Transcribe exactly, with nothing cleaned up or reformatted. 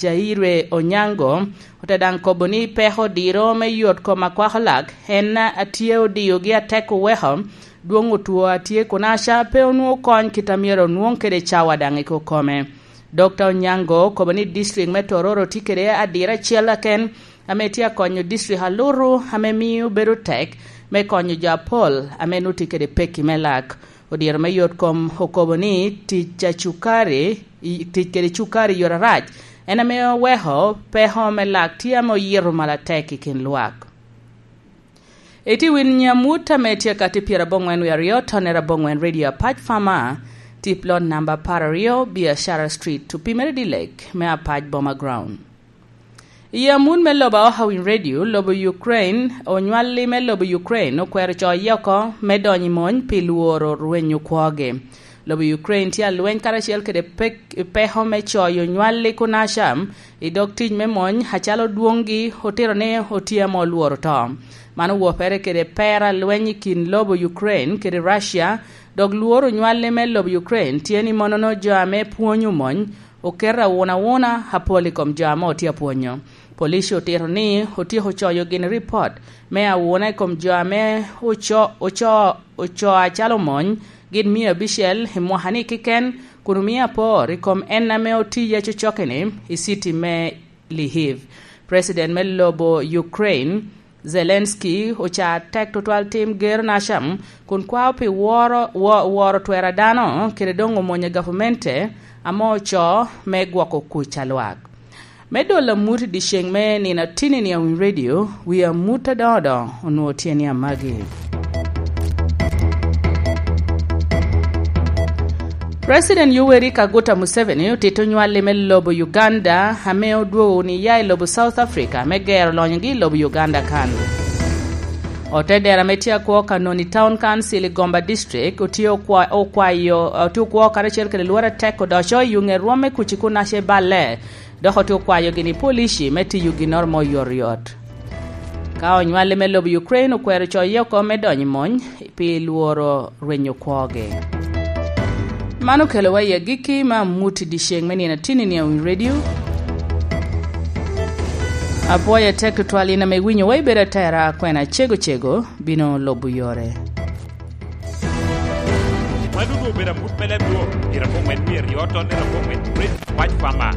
Jaire Onyango, ote daŋ kobo ni peko diro me yot kom akwako lak en a tye odiogi atek oweko dwoŋ otwo a tye kunaca pe onwoŋo kony kit a myero onwoŋ kede cawa daŋ i kokome. Dokta Onyango okobo ni district me Tororo tye kede adira acel aken ame tye akonyo district alutu ame mio bedo tek me konyo jo apol ame nut tye kede pekki me lak. Odiro me yot kom okobo ni tic a cukari, i, tic kede cukari yot arac, en ame oweko peko me lak tye ame oyito malo atek i kin lwak. Iti win nyamut ame tye kati pyera aboŋwen wie aryo, tonne aboŋwen Radio Apac Farmer, tip lot namba apar aryo, Biashara Street, opimere dilek me Apac Boma Ground. I amut me lobo a Ohawin Radio, lobo Ukraine, onywalli me lobo Ukraine okwero coye oko me donyo i mony pi lworo rwenyo kwogi. Lobo Ukraine tye alweny karacel kede pek-, peko me coyo onywalli kunaca i dog tic me mony, acalo dwoŋgi otito ni otye ame olworo to. Man owopere kede pera lweny i kin lobo Ukraine kede Russia, dok lworo onywalli me lobo Ukraine tye ni monono jo ame pwonyo mony oketo awunawuna apol i kom jo ame otye apwonyo. Police otito ni otyeko coyo gin ripot me awuna i kom jo ame oco-, oco-, oco acalo mony gin mia abicel i mwaka-ni keken, kun omio apor i kom en ame otiye cocoke-ni i citi me Lviv. President me lobo Ukraine, Zelensky, oca tek tutwal tim gero nacam, kun kwao pi woro, wo-, woro twero a dano, kede doŋ omwonyo gavamente ame oco me gwoko kuc a lwak. Me dolo amut i dyeceŋ me nino atini-ni a Winy Radio, wi amut adoŋo doŋo onwoŋo tye ni amagi. President Yoweri Kaguta Museveni otito nywalli me lobo Uganda ame odwogo wunu iya i lobo South Africa me gero lonyogi i lobo Uganda kan. Otedera ame tye akwo Kanoni Town Council i Gomba District otye okwa-, okwayo, otye okwo karacel kede lworo atek odoco i yuŋe rwom me kuci kun ace balle, dok otye okwayogi ni polici me tiyo ginnoro mo oyotoyot. Ka onywalli me lobo Ukraine okwero coye oko me donyo i mony pi lworo rwenyo kwogi. Man okelowa i agikki me amut i dyeceŋ me nino atini-ni a Winy Radio. Apwoyo atek tutwal in ame iwinyowa ibedo atera, kwena cego cego bino lubo yore. Mano doŋ obedo amut me leb Rwot, i Rabo Ŋwen wie aryo, tonne Rabo Ŋwen, Red White Farmer.